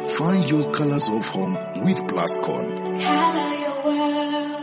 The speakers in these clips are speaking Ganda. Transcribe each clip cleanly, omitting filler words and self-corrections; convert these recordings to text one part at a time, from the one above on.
Find your colors of home with Plascon.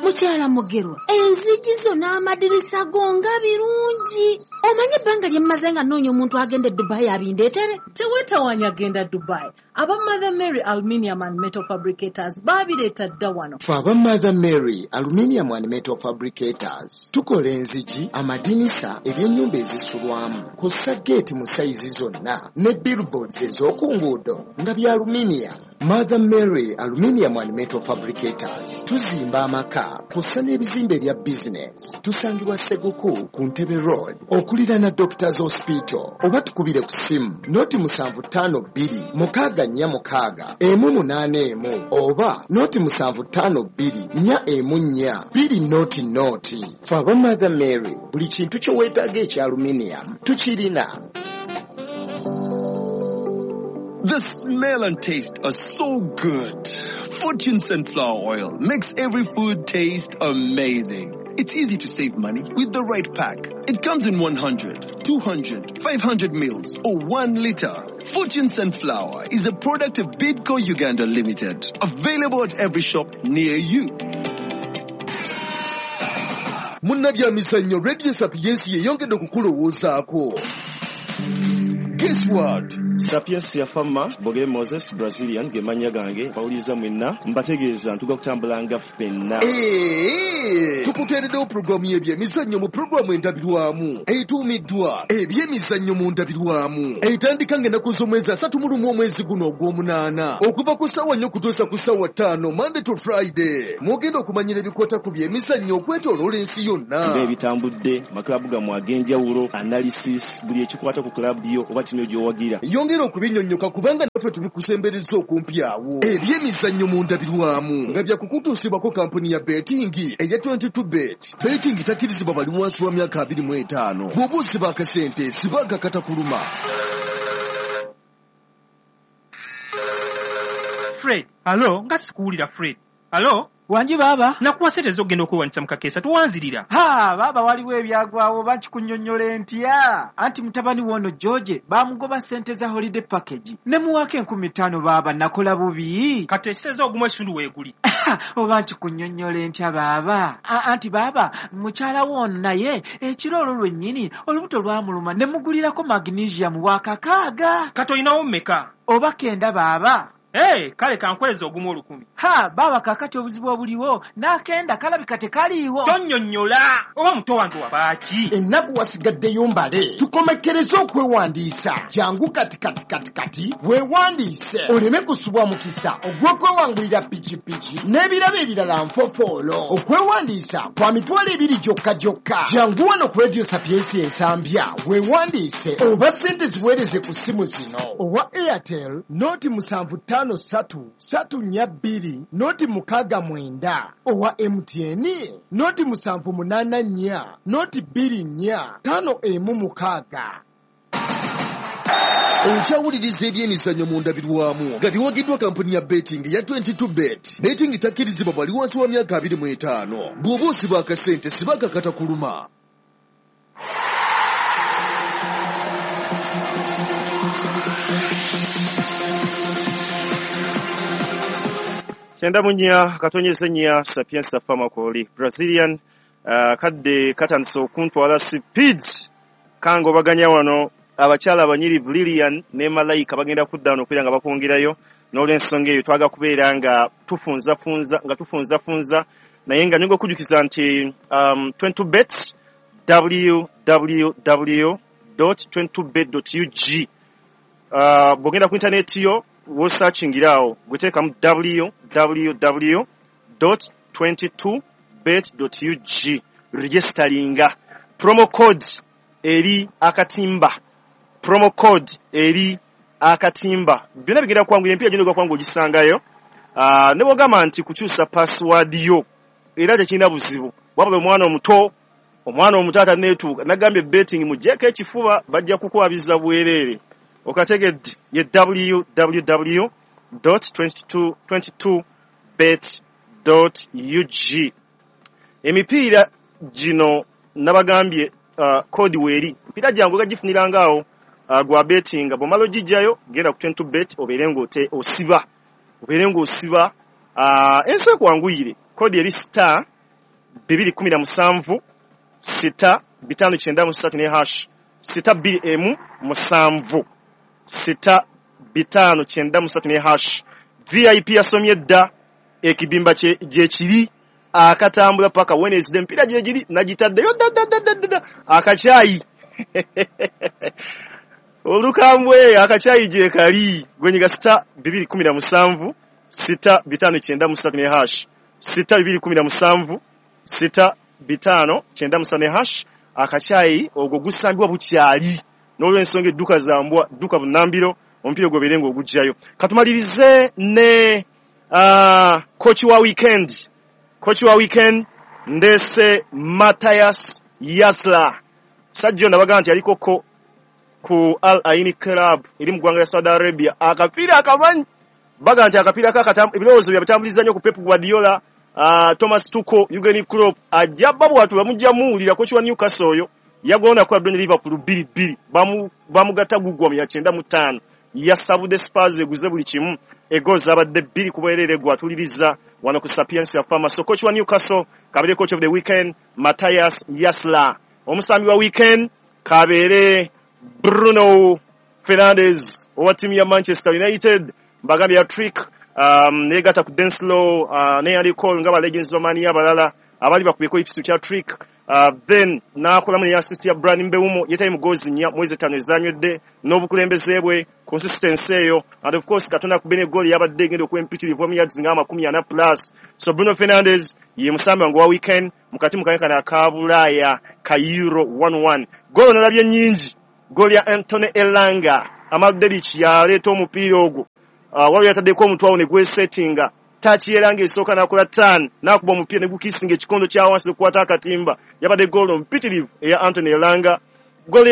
Mukyala Mugerwa, enzigi zo n'amadirisa go nga birungi. Omanyi ebbanga lye mmaze nga nnoonya omuntu agenda e Dubai abindeetere? Teweetawaanya genda Dubai. Aba Mother Mary Aluminium and Metal Fabricators baabireeta dda wano. Ffe aba Mother Mary Aluminium and Metal Fabricators tukola enzigi, amadinisa, ebyennyumba ezisulwamu, kw'ossa geeti mu sayizi zonna ne billboards ez'oku nguudo nga bya aluminium. Mother Mary Aluminium and Metal Fabricators tuzimba amaka kw'ossa n'ebizimbe ebya bizinesi. Tusangibwa Seguku ku Ntebe Road okuliraana Doctors Hospital, oba tukubire ku ssimu 075 2 646 181 oba 075 414 200. Ffe aba Mother Mary buli kintu kye weetaaga ekya aluminium tukirina. The smell and taste are so good. Fortune sunflower oil makes every food taste amazing. It's easy to save money with the right pack. It comes in 100, 200, 500 mils or 1 liter. Fortune Sunflower is a product of Bidco Uganda Limited. Available at every shop near you. Munnabyamizannyo, Radio Sapiensi yeyongedde okukulowoozaako. Guess what? Sapiensia Fama Bogere Moses Brazilian ge mannya gange. Bawuliriza mwenna, mbategeeza ntuga kutambulanga ffenna. Ee, tukuteereddewo puroguramu y'ebyemizannyo mu puroguramu endabirwamu etuumiddwa Ebyemizannyo mu Ndabirwamu, etandika ng'ennaku z'omwezi 31 omwezi guno ogw'omunaana, okuva ku ssaawa 4 okutuusa ku ssaawa 5, Monday to Friday. Mwogenda okumanyira ebikwata ku byemizannyo okwetooloola ensi yonna, nga ebitambudde, makulabu gammwe ag'enjawulo, analysis, buli ekikwata ku kulabu yo oba ttiimu gy'owagira. Yongera okubinyonnyoka kubanga naffe tubikusembereza okumpi awo. Ebyemizannyo mu Ndabirwamu nga byakukutuusibwako kampuni ya betting eya 22 Bet. Betting takkirizibwa bali wansi wa myaka 25. Bw'oba osiba akasente, siba akakatakuluma. Fred, alo, nga sikuwulira Fred. Alo? Wangi baaba. Nakuwa ssente ez'okugenda okwewandisa mu kakeesa, towanzirira. Ha, baaba, waliwo ebyagwawo, oba nkikunnyonnyola ntya? Anti mutabani woono George baamugoba ssente za holiday package. Ne muwaako 5,000 baaba, nakola bubi. Kati ekiseeza ogumu ekitundu weeguli. Oba nkikunnyonnyola ntya baaba? Anti baaba, mukyala woono naye ekiro olwo lwennyini olubuto lwamuluma ne mugulirako magnesium wa 6,000. Kati olinawo mmeka? Oba kenda baaba. Hey, kale kankweza ogumu 1,000. Ha, baaba, kaakati obuzibu obuliwo n'akenda kalabika tekaliiwo. Tonnyonnyola, oba muto wange wabaaki? Ennaku wasigaddeyo mbale, tukomekkereze okwewandiisa. Jangu kati kati kati kati weewandiise oleme kusubwa mukisa ogw'okwewangulira pikipiki n'ebirabo ebirala nfofoolo. Okwewandiisa kwa 20,000 gyokka gyokka. Jangu wano ku Radio Sapiensi Ensambya weewandiise, oba ssente ziweereze ku ssimu zino: owa Airtel 075 334 069, owa MTN 0784 024 516. Okyawuliriza Ebyemizannyo mu Ndabirwamu nga biwagiddwa kampuni ya betting ya 22 Bet. Betting takkirizibwa bali wansi wa myaka 25. Bw'oba osiba akasente, siba akakatakuluma. 94.4 Sapienza Famakoli Brazilian. Kadde katandise okuntwala speed, kangobaganya wano. Abakyala abanyirivu Lilian ne Malayika bagenda kudda wano okubeera nga bakwongerayo. N'olwensonga eyo twaga kubeera nga tufunzafunza, nga tufunzafunza, naye nga nyinga okujjukiza nti 22 bet, www.22bet.ug. Bw'ogenda ku intaneti yo wosearchingira awo, gweteekamu www.22bet.ug, registeringa, promo code eri akatimba, promo code eri akatimba. Byonna bigenda kwanguyira, empiira gyonna kwanga ogisangayo. Ne bwogamba nti kukyusa password yo era tekirina buzibu, wabula omwana omuto ataneetuuka nagambye betting muggyeko ekifuba, bajja kukwabiza bwereere. Okategedde? Ye www.22bet.ug. Emipiira gino nabagambye code weeri, emipiira gyange gagifuniranga awo. Gwa bettinga bw'omala ogijjayo genda ku 22 bet obeere ng'ote osiba, obeere ng'osiba, ensi ekwanguyire. Kodi eri star 217 6 593 ne hash sita bbiri emu musanvu sita bitaano kyenda musatu ne hash. VIP yasomye dda ekidimba gye kiri akatambula paka Wednesday, emipiira gye giri nagitaddeyo dda dda dda dda dda akacyayi olukambwe akacyayi gye kali gwenyiga sita 217 6 593 ne hash sita 217 6 593 ne hash. Akacyayi ogwo gusambibwa bukyali n'olw'ensonga edduka zambwa dduka bunnambiro omupiira gw'obeere ng'ogugjayo. Katumalirize ne coach wa weekend. Coach wa weekend ndese Matthias Yasla. Sajjo nabaga nti aliko ko ku Al Ain Club eri mu ggwanga lya Saudi Arabia. Akapiira akamanyi baga nti akapiira ebirowoozo byabitambuliza nnyo ku Pep Guardiola, Thomas Tuchel, Jurgen Klopp. Ajja babwatu bamujja muwulira coach wa Newcastle oyo yagona kwa Brentford Liverpool 2-2 bamugatta gugwa mu ya 95 yasabudde Spurs eguze buli kimu ego zabadde 2 ku bwerere gwatuliriza wano ku Sapientia Farmer. So coach wa Newcastle kabere coach of the weekend Matthias Yasla. Omusambi wa weekend kabere Bruno Fernandes owa ttiimu ya Manchester United, mbagambye ya trick negatta ku Denslow ne Andy Cole nga ba legends b'amaanyi abalala abali bakubeko ekisu kya trick, then n'akolamu ne assist ya Bryan Mbeumo yetayi mu goals 4 mwezi 5 ezanywedde n'obukulembeze bwe consistency eyo, and of course Katonda kubene goal yabadde egenda okwempitirivu mu yards nga 40 plus. So Bruno Fernandes ye musambi wange wa weekend mukati mukanyakana aka Bulaaya ka Euro 1-1. Goal nalabye nnyingi, goal ya Anthony Elanga Amal Delic yaleeta omupiira ogwo, waliwo yataddeko omutwe awo ne gwesettinga tachi Elanga esooka n'akola turn n'akuba omupiira ne gukisinga ekikondo kya wansi okukwata akatimba. Yabadde goal mpitirivu eya Anthony Elanga. Goal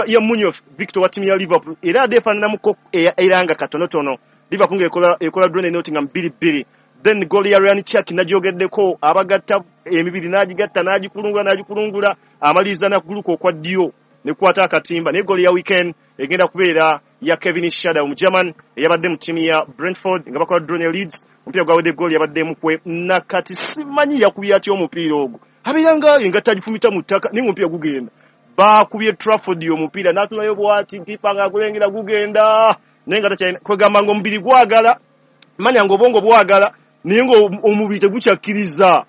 ya Munoz Victor wa ttiimu ya Liverpool era adde efaananamuko eya Elanga katonotono. Liverpool ng'ekola ekola draw ne Nottingham 2-2. Then goal ya Ryan Cherki nagyogeddeko, abagatta emibiri n'agigatta n'agikulungula amaliriza n'akuguluka okwa ddyo ne kukwata akatimba. Naye goal ya weekend egenda kubeera ya Kevin Schade omugerman eyabadde mu ttiimu ya Brentford nga bakola draw ne Leeds. Omupiira gwawedde goal yabadde mukwe nakati simanyi yakubye atya omupiira ogwo, abeera nga engatta agifumita mu ttaka naye ng'omupiira gugenda. Baakubye Trafford omupiira n'atunayo bw'ati kipa ng'agulengera gugenda naye nga takyalina kwegamba ng'omubiri gwagala manya ng'obwongo bwagala naye ng'omubiri tegukyakkiriza.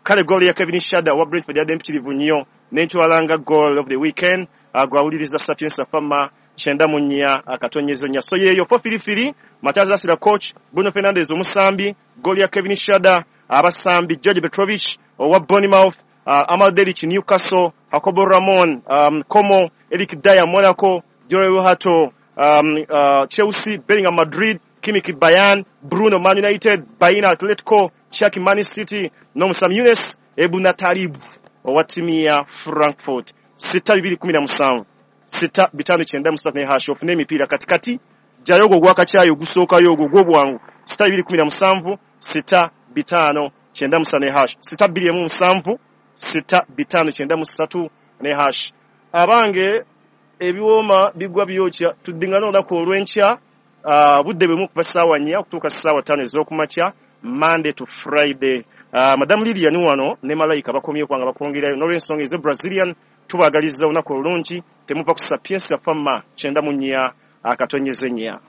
Kale goal ya Kevin Schade wa Brentford yadde mpitirivu nnyo n'entwala nga goal of the weekend. Gwawuliriza Sapientia Farmer 94 akatonyeza nnya. So yeeyo Fofirifiri Matthias Yasla coach, Bruno Fernandes omusambi, goal ya Kevin Schade, abasambi George Petrovic owa Bournemouth, Amal Delic Newcastle, Jacobo Ramon Como, Eric Dier Monaco, Jorrel Hato Chelsea, Bellingham Madrid, Kimmich Bayern, Bruno Man United, Baina Atletico, Cherki Man City n'omusambi Younes Ebou-Natalib owa ttiimu ya Frankfurt. 6 217 6 593 ne hash ofune emipiira katikati jjayo ogwo ogwakacyayi ogusookayo ogwo ogw'obwangu 6 217 6 593 ne hash 6 2 7 6 593 ne hash. Abange ebiwooma bigwa byokya, tuddingana olunaku olw'enkya budde bwemu kuva ssaawa 4 okutuuka ssaawa 5 ez'okumakya Monday to Friday. Madam Lilian wano ne Malayika bakomye kubanga bakwongerayo n'olw'ensonga eze Brazilian. Tubaagaliza olunaku olulungi, temuva ku Sapientia Farmer 94 akatonyeze nnya.